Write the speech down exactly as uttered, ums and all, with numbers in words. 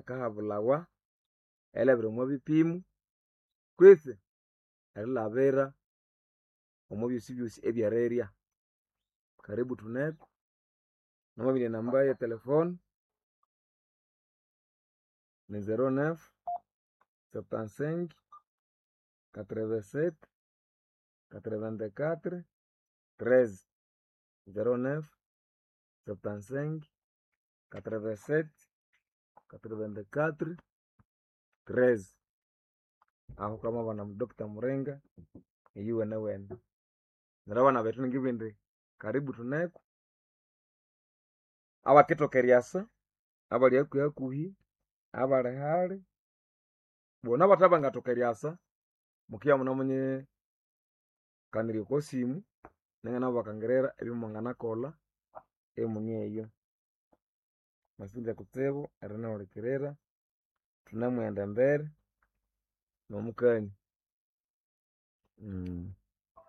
Akahabulhawa erilabira omwa bipimo kwitsi erilabira omwa byosi byosi ebyerirya. Karibu thuneko namabirya enamba ye telefone ni zero neuf, septante cinq, quatre vingt sept, quatre vingt quatre, treize, zero neuf, septante cinq, quatre vingt sept, quatre vingt quatre, treize. Aho wukamabana Doctor Muringa eyuwenewene. Neryo abana bethu ningibugha indi karibu thuneko abakithoka eryasa, abali hakuhi hakuhi, abali hali, bona abathe bangathoka eryasa, mukibya imunemunyi kanirya okwa simu iningana bakangirira ebyomwanganakolha imune eyo. Mwasinja kutsibu erinihulikirira, thunemughenda embere nomukania.